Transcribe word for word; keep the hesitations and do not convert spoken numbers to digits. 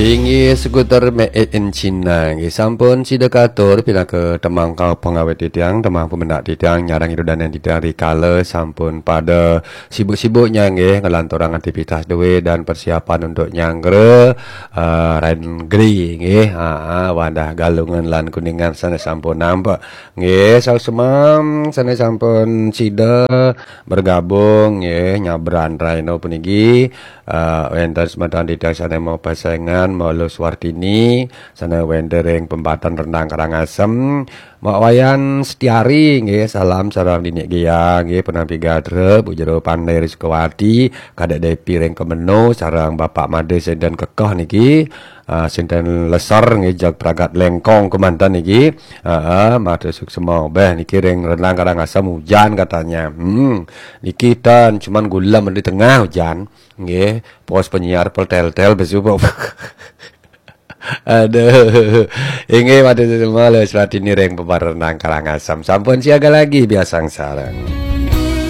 Inggih, skuter made in China. Inggih, sampun sida katur pinaka temangka pengawit titiang, temang pemendak titiang, nyarang irudanan titiang rikala sampun pada sibuk-sibuknya nggih ngelanturang aktivitas duwe dan persiapan untuk nyanggra uh, Rain Gri nggih. Ha, ha, Wadah Galungan lan Kuningan sane sampun nampak. Nggih, saus semam sane sampun sida bergabung nggih nyabran raino puniki. Uh, wenten semeton titiang sane mau pasengan, mau Lus Wartini, sane wenten ring pembatan Rendang Karangasem, Mak Wayan Setiari nggih, salam sareng Dinik Gia nggih, penampi Gadre, Bu Jero Pandai Rizkawati, Kadek Depi ring Kemeno, sareng Bapak Made senten kekeh niki, uh, senten Lesor nggih, jag pragat Lengkong kemanten niki. Heeh, matur suksema beh niki ring Rendang Karangasem hujan katanya. Hmm, niki ten cuman gulem di tengah hujan. Nggih, pos penyiar pel tel-tel besu. Aduh. Inggih, matur suksema Lus Wartini ring pembatan Rendang Karangasem. Sampun siaga lagi biasang sareng.